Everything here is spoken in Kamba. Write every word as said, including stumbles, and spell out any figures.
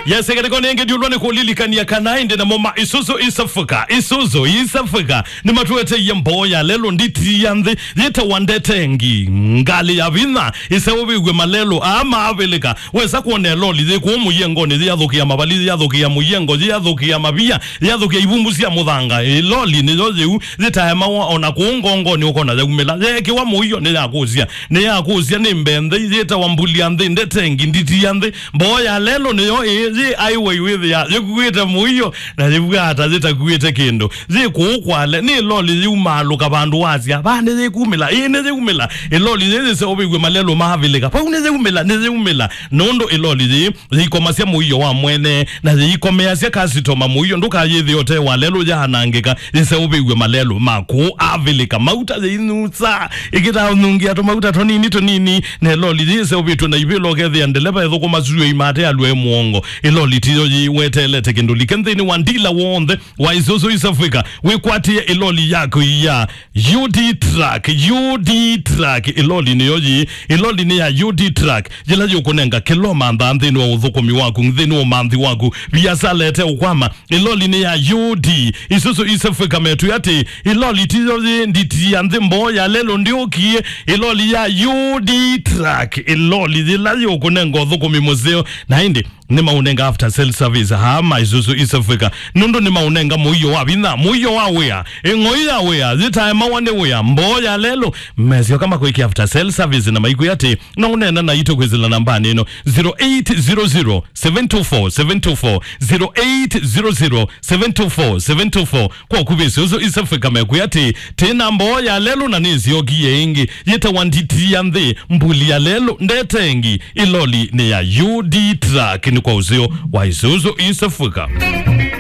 Yes, ĩkatĩko nĩngĩ ndiũlwa nĩ kũlilikania kana ĩndĩ namo ma Isuzu East Africa, Isuzu East Africa, nĩmatũeteie mboo ya lelũ nditi ya nthĩ, yĩtawa ndetengi, ngalĩ ya vinya, ĩseũvĩw'e malelũ, aa maavĩlĩka, wesa kwona ĩloli yĩ kũũ mũyengonĩ, yĩathũkĩa mavali, yĩathũkĩa mũyengo, yĩathũkĩa mavia, yĩathũkĩa ivumbu sya mũthanga, ĩloli nĩyo yĩu, yĩtaemawa ona kũũ ngongonĩ ũkona yaumĩla, yeekĩwa mũio nĩyakũsya, nĩyakũsya nĩ mbee nthĩ, yĩtawa mbuli ya nthĩ, ndetengi, nditi ya nthĩ, mboo ya lelũ nĩyo ĩĩ, yĩ highway wĩthĩa yĩkuĩte mũio, na yĩvw'aa ta yĩtakuĩte kĩndũ. Yĩ kũũ kwale, nĩ loli yĩumaalũka vandũ wasya, vaa nĩyĩkumĩla, ĩĩ nĩyĩumĩla. Ĩloli yĩĩ yĩseũvĩw'e malelũ maavĩlĩka, vau nĩyĩumĩla, nĩyĩumĩla. Nũndũ ĩloli yĩĩ yĩikomasya mũio wa mwene, na yĩikomeasya kasitoma mũio ndũkayĩthĩe ũte wa lelũ yaanangĩka, yĩseũvĩw'e malelũ ma kũũ avĩlĩka. Mauta yĩinyusa, ĩkĩtanungia tũmauta tũnini tũnini, na ĩloli yĩĩ yĩseũvĩtw'e na ivĩla ũkethĩa ndeleva ĩthũkũma syũa imate alũe mũongo. Ĩloli tiyo yĩĩ weteelete kĩndũ like nthĩnĩ wa ndila w'onthe wa Isuzu East Africa, wĩkwatĩe ĩloli yaku ya U D truck, U D truck, ĩloli nĩyo yĩĩ, ĩloli nĩ ya U D truck, yĩla yũkũnenga kĩla ũmanthaa nthĩnĩ wa ũthũkũmi waku, nthĩnĩ wa ũmanthi waku, viasala ĩteũkwama, ĩloli nĩ ya U D. Isuzu East Africa metwĩa atĩ, ĩloli tiyo yĩĩ nditi ya nthĩ mboo ya lelũ ndĩũkie, ĩloli ya U D truck, ĩloli yĩla yũkũnenga ũthũkũmi mũseo, na ĩndĩ nĩmaũnenga after sale service haa ma Isuzu East Africa, nũndũ nĩmaũnenga mũio wa vinya, mũio wa wĩa, ĩng'oi ya wĩa, yĩtaemawa nĩ wĩa, mboo ya lelũ, mesyoka makwĩkĩa after sale service na maikwĩa atĩ, no ũneena naitũ kwĩsĩla nambanĩ ĩno, zero eight zero zero, seven two four, seven two four, zero eight zero zero, seven two four, seven two four. Kwa ũkuvĩ Isuzu East Africa mekwĩa atĩ, tĩ na mboo ya lelũ na nĩsyokie ĩngĩ, yĩtawa nditi ya nthĩ, mbuli ya lelũ, ndetengi, ĩloli nĩ ya U D truck, nĩ kwa ũseo wa Isuzu East Africa.